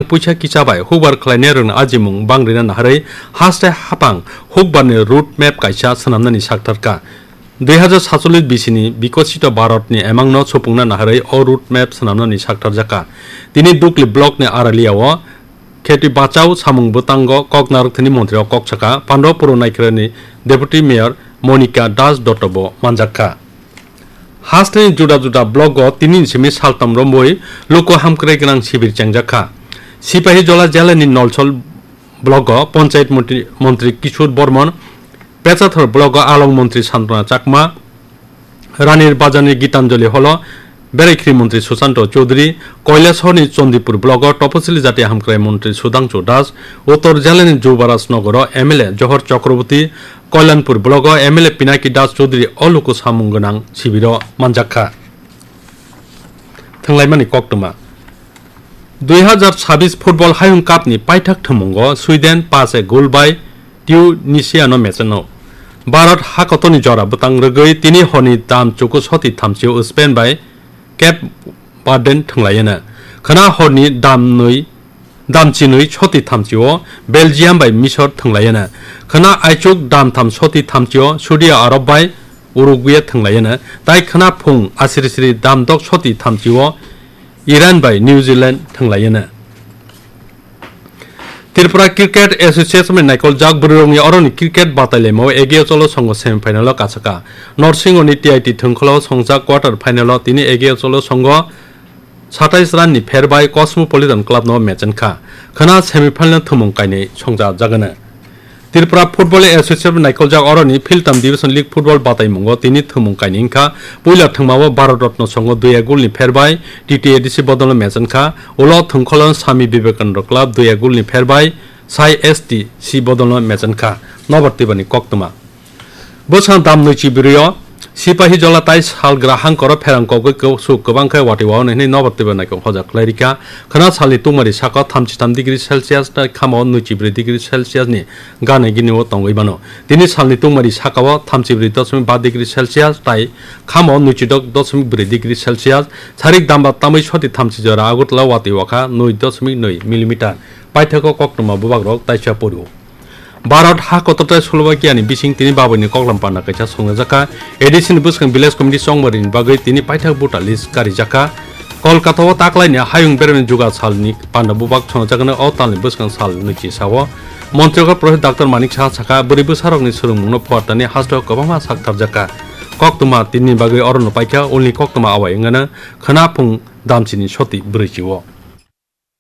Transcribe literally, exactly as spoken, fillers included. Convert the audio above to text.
puisa kisa bai hukbar khlainairokni ajimung bang rina naharwi haste hapang hukbarni road map kaisa swnamnani saktharkha. Dui hazar satchollish bisini Bikosito Bharatni emangno supungna naharwi o road map swnamnani saktharjakha. Tini Dukli blockni Aralia-o Kheti Bachao samung bwtango kok narwkthani montri o kok saka, Pandopuro Naikhorani Deputy Mayor Monika Das Dotto bo manjakha. Hasteni juda juda blogo tini ni simi saltam romwi luku hamkrai gwnang sibir chengjakha. Sipahijola jelani Nolsol blogo Panchayat montri, montri Kishore Bormon, Pechathor blogo Along montri Santona Chakma, Ranir Bazarni Gitanjali Holo Beraikhri montri Susanto Chowdhury, Koilashahorni Chandipur blogo Toposili Jati Hamkrai montri Sudhangshu Das, Uttor jelani Jubaraj Nogoro M L A Johor Chakraborty, Kalyanpur blogo M L A Pinaki Das Chowdhury o luku samung gwnang sibiro manjakha. Thwnglaimani koktwma. Dui hazar sabis Football Hayung Cup ni paithak thwngmungo Sweden paanch ek goal bai Tunisia no mecheno. Bharat hakotorni jora bwtang rwgwi tini horni dam chuku soti thamchio Spain bai Cape Verden thwnglaiyana. Khwna horni dam nwi, dam chinwi soti thamchio Belgium bai Misor thwnglaiyana. Khwna aichuk dam tham soti thamchio Saudi Arab bai Uruguay thwnglaiyana. Tai khwna phung asiri siri dam dok soti thamchio Iran bai New Zealand thwnglaiyana. Tripura Cricket Association bai naikoljak bwrwirokni oroni cricket batailaimao Ege Ocholo songo semi final o kasaka. Norsingoni T I T thwngkholo songjak quarter final o tini Ege Ocholo songo satais run ni pher bai Cosmopolitan Club no mechenkha. Khwna semi final thwngmung kainwi songjak jagano. Tripura Football Association naikoljak oroni Philtam Division League Football bataimungo tini thwngmung kainwi wngkha. Puila thwngmao Bharat Ratna songo dui ek goal ni pher bai T T A D C bodolno mechenkha. Ulo thwngkholo Swami Vivekananda Club dui ek goal ni pher bai Sai S T C bodolno mechenkha. Nobar twibani koktwma. Bwswk dam nwichi bwrwio Sipahijola tai salgra hangkoro pherang kogwi kosuk kwbang khe watwi wao hinwi nobar twibani hoja khlai rikha. Khwna salni tungmari saka thamchi tham degree Celsius tai khamo nwichi bwrwi degree Celsius ni gana gini o tongwi mano. Tini salni tungmari sakao thamchi bwrwi dosmik ba degree Celsius tai khamo nwichi dok dosmik bwrwi degree Celsius. Sarik damba tamwi soti thamchi jora Agartala watwi wakha nwi dosmik nwi millimeter. Paithakgo koktwma bubagrok taisa pori o. Bharat ha kotor tai Slovakia ni bising tini baboini koklam panda kaisa songnajakha. A D C ni bwskang village committee chongmari ni bagwi tini paithak voter list karijakha. Kolkata o taklaini hayung beremni juga salni panda bubak songnajaknai o talni bwskang sal nwichi sao. Montri Professor Doctor Manik Saha sakha, bwrwi bwsarokni swrwngmungno phuartani hasteo kwbangma sak tharjakha. Koktwma tinini bagwi orono paikha, ulni koktwma awai wngano khwna phung damchini soti bwrwichi o.